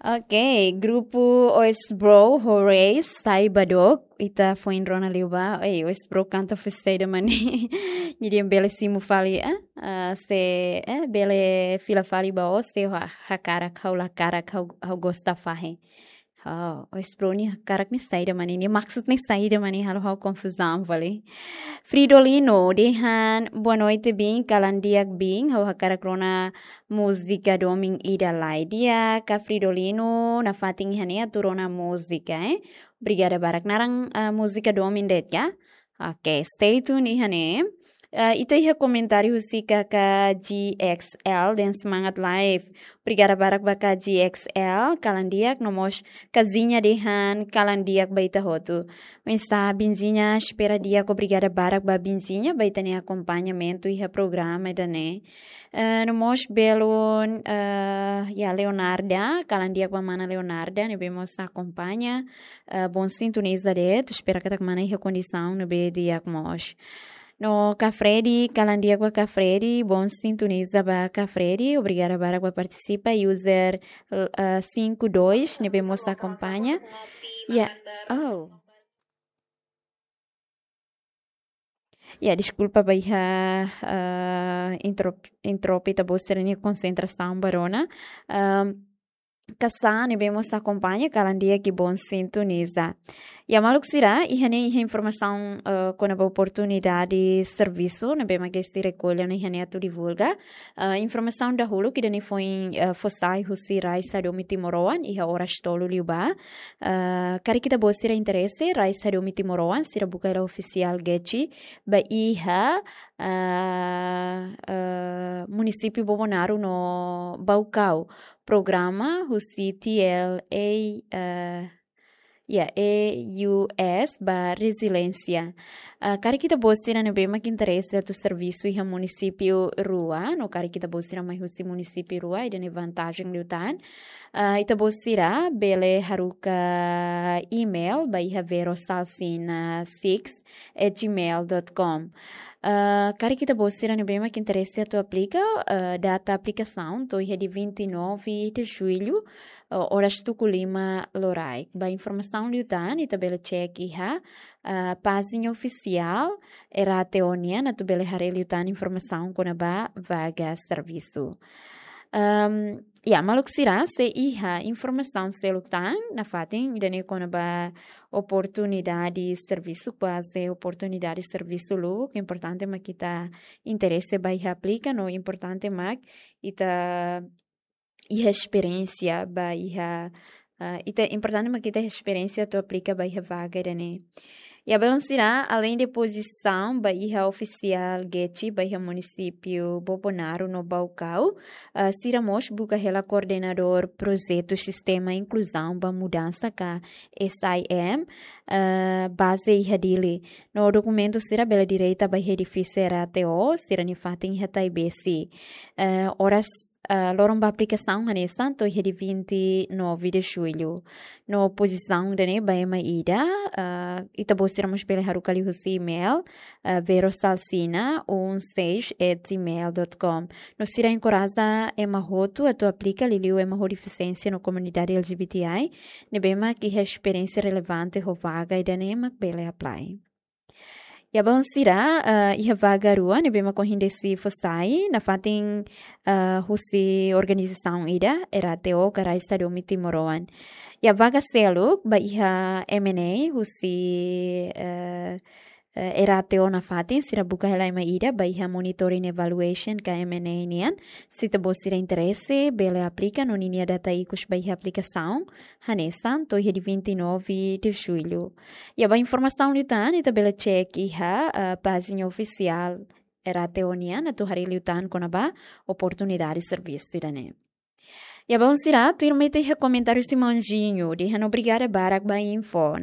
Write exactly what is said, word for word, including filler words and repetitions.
Ok, grupu Oes Bro ho Reis sai ba dook, ita foin rona liu ba, ei, Oes Bro kanta festa ida mane. Jadi ema bele simu fali, eh, eh, se, eh, bele fila fali ba ó, se ha'u ha-, hakarak, ha'u la hakarak, ha'u, ha'u gosta fahe. Oh, Oes Bro nia hakarak ne'e saida mane, nia maksud ne'e saida mane, halo ha'u konfuzaun fali. Fridolino dehan, boa noite, biin, kalan di'ak biin, ha'u hakarak rona múzika domin ida lai. Di'ak ka Fridolino, nafatin iha ne'e atu rona múzika, eh. Obrigada barak. Naran, ah, múzika domin de'it ka? Ok, stay tuned iha ne'e. Ah, ita iha komentáriu husi K K G X L dehan semangat live. Obrigada barak ba K G X L, kalan di'ak, no mós Kazinha dehan kalan di'ak ba ita hotu. Mensagem Binzinha, espera di'ak, obrigada barak ba Binzinha, ba ita-nia akompañamentu iha programa ida-ne'e. Eh, no mós belun, eh, ya, Leonarda, kalan di'ak ba mana Leonarda, ne'ebé mós akompaña, eh, bom sintoniza de'it, espera katak mana iha kondisaun ne'ebé di'ak mós. No Ka Freddy, kalan di'ak ba Ka Freddy, bom sintoniza ba Ka Freddy, obrigada barak ba partisipa, user, eh, cinco dois, ne'ebé mós akompaña. Ya, oh. Ya, deskulpa ba iha, eh, intro, intro ita-boot sira-nia konsentrasaun ba rona. Ehm, Kasá ne'ebé mós akompaña, kalan di'ak i bom sintoniza. Ya, maluk sira, iha ne'e iha informasaun, eh, kona-ba oportunidade servisu ne'ebé mak esti rekolla ona iha ne'e atu divulga. Eh, informasaun dahuluk ida-ne'e foin, eh, fó sai husi Rais Hadomi Timoroan iha oras tolu liubá. Eh, karik ita-boot sira interese, Rais Hadomi Timoroan, sira buka hela ofisiál Getxi ba iha, eh, eh, munisípiu Bobonaro no Baucau. Programa husi T L A, eh, ya, A U S ba reziliénsia. Ah, karik ita-boot sira ne'ebé mak interese atu servisu iha munisípiu rua, no karik ita-boot sira mai husi munisípiu rua, ida-ne'e vantajen liután. Ah, ita-boot sira bele haruka email ba iha verosalsina six at gmail dot com. Ah, karik ita-boot sira ne'ebé mak interese atu aplika, ah, data aplikasaun to'o iha dia vinte e nove de julho, ah, oras tuku lima loraik. Ba informasaun liután, ita bele cek iha, ah, pájina ofisiál R A T O nian, atu bele haree liután informasaun kona-ba vaga servisu. Ehm, ya, maluk sira, se iha informasaun seluk tan, nafatin, ida-ne'e kona-ba oportunidade servisu, kuaze oportunidade servisu lubuk, importante mak ita interese ba iha aplika, no importante mak ita iha esperiénsia ba iha, ah, ita, importante mak ita iha esperiénsia atu aplika ba iha vaga ida-ne'e. Ya, belun sira, além de pozisaun ba iha ofisiál Getxi ba iha munisípiu Bobonaro no Baucau, ah, sira mós buka hela koordenadór projetu Sistema Inkluzaun ba Mudansa ka S I M, ah, baze iha Dili. No dokumentu sira bele direta ba iha edifísiu R A T O, sira-nia fatin iha Taibesi. Ah, oras, ah, loron ba aplikasaun hanesan to'o iha dia vinte e nove de julho. No pozisaun ida-ne'e ba ema ida, ah, ita-boot sira mós bele haruka liuhusi email, ah, verosalsina um seis at gmail dot com. No sira enkoraja ema hotu atu aplika, liuliu ema ho defisiénsia no komunidade L G B T I, ne'ebé mak iha esperiénsia relevante ho vaga ida-ne'e mak bele apply. Ya, belun sira, eh, iha vaga rua ne'ebé mak ohin deside fó sai, nafatin, eh, husi organizasaun ida, R A T O ka Rais Hadomi Timoroan. Ya, vaga seluk ba iha M and A husi, eh, eh, R A T O nafatin, sira buka hela ema ida ba iha monitoring evaluation ka M and A nian. Se ita-boot sira interese, bele aplika no ninia data ikus ba iha aplikasaun hanesan to'o iha dia vinte e nove de julho. Ya, ba informasaun liután, ita bele cek iha, ah, pájina ofisiál R A T O nian, atu haree liután kona-ba oportunidade servisu ida-ne'e. Ya, belun sira, tuirmai ita iha komentáriu husi Manjinho, dehan obrigada barak ba info.